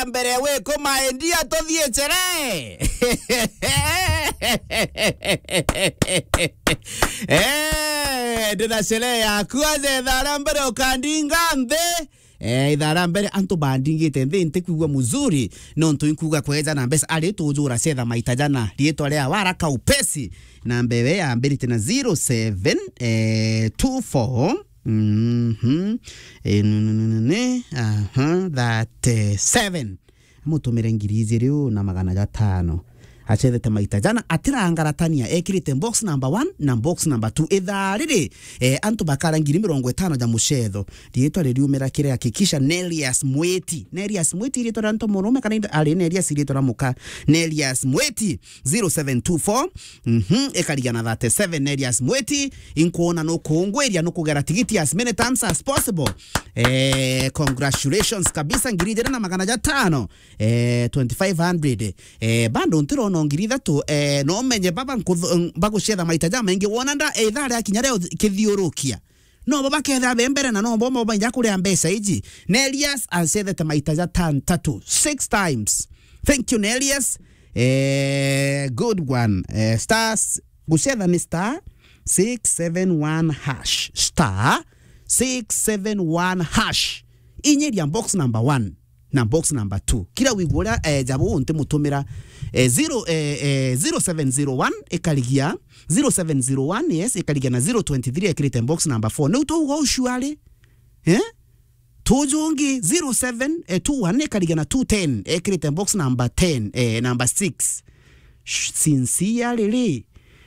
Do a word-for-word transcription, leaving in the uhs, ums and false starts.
Mbere wiku, my dear, tuthie chere. Eh, ndina sherehe yaku aja ithaa ria mbere ukandinga nthi. Eh, ithaa ria mbere antu bandingite nthi, ntikwigua muzuri, nontu inkuga kweja na mbeca, ari tujura cetha maita jana, riitwa ria waraka upesi, na mbere yambirite na zero seven, eh, two four. Mhm. Eh, nu, nu, nu, nu, ni, aha, thirty-seven. Amutumire ngiri ijiri u na magana jatano. Acethete maita jana, atirangaratania, ekirite box number one na box number two. Ithaa riri, eh, antu bakara ngiri mirongo itano ja mucetho. Riitwa ririumira kiri hakikisha Nelias Mwiti. Nelias Mwiti riitwa ria ntu murume kana indo, ari Nelias riitwa ria muka. Nelias Mwiti, zero seven two four, mhm, ikarigia na thirty-seven, Nelias Mwiti, inkuona nukungwiria, nukugera tigiti as many times as possible. Eh, congratulations kabisa, ngiri ijiri na magana jatano, eh, twenty-five hundred. Eh, bado ntirona ngiri ithatu, eh, no menye baba nkuthu-, bagucetha maita jamaingi, wona nda, eh, ithaa ria kinya ria kithiurukia. No bo bakethira be mbere na no bo, bo bainya kuria mbeca iji. Nelias acethete maita jatantatu, six times. Thank you, Nelias. Eh, good one. Eh, star s-, gucetha ni star six seven one hash. Star six seven one hash. Inyiria box number one na box number two. Kira wigua uria, eh, jabu ntimutumira, eh, zero, eh, eh, zero seven zero one ikarigia, zero seven zero one, yes, ikarigia na zero twenty-three ekirite box number four. Niu tuuga ucuari, eh? Tujungi zero seven, eh, two one ikarigia na two ten ekirite box number ten, eh, number six. Sh-, sincerely,